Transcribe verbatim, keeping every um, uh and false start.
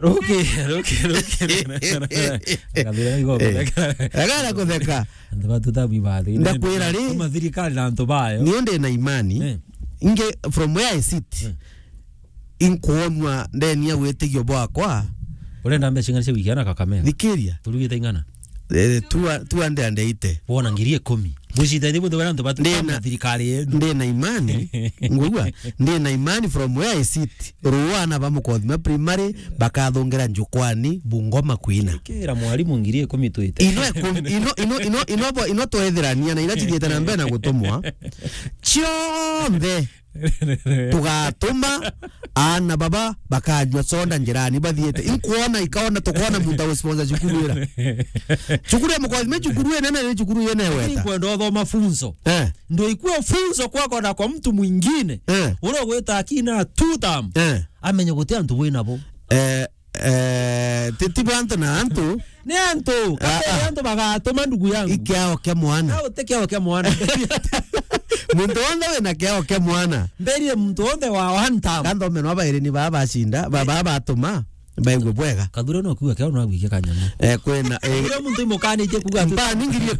Ruki, ruki, ruki. Akathira igo. Eh. Agara kutheka. Antu batu tabu ibathi. Ndakwira ri? Kuma thirikari na antu bayo. Nio ndi na imani. Eh. Inge from where I sit. Eh. Inkuonwa ndeni ya witigio bwakwa. Urenda mbeca ing'ana cia wiki ana Kakamega? Thikiria. Turugite ing'ana? Eh, two, two hundred and eighty. Wona ngiri ikumi. Bucita ithe bunthe bara antu batu Ndina, kama thirikari yetu. Ndina imani. Ngugua. Ndina imani from where I sit. Ruana ba Mukothima primary bakathungira njukwani Bungoma kwina. Kira mwalimu ngiri ikumi twite. Ino ikumi, ino, ino, ino, ino bo, ino twethirania na ira cithiite na mbere na gutumwa. Cionthe tugatuma aana baba bakanyua soda njirani bathiite. Inkuona ikaona tukoona muntu agusponsor cukuru ira. Cukuru ya Mukothima cukuru inene ni cukuru yene Lakini weta. Kwenda uthoma funzo. Eh. Ndio ikuwe funzo kwako na kwa mtu mwingine. Eh. Ule ugwita akina two term. Eh. Amenye guti antu wina bo. Eh, eh, ti, ti bantu na antu. Ni antu. Ah, Kati ah. Antu bagatuma ndugu yangu. Ikiao kia mwana. Au te kiao kia mwana. Muntu wona wina kiao kia mwana. Mberi muntu wona wa one time. Kando meno abairi ni baba bacinda, baba batuma, baigwe bwega. Kathura no kuga kiao no agwike kanyama. Eh, kwena, eh. Ule muntu imukanitie kuga tu. Mpa ningirie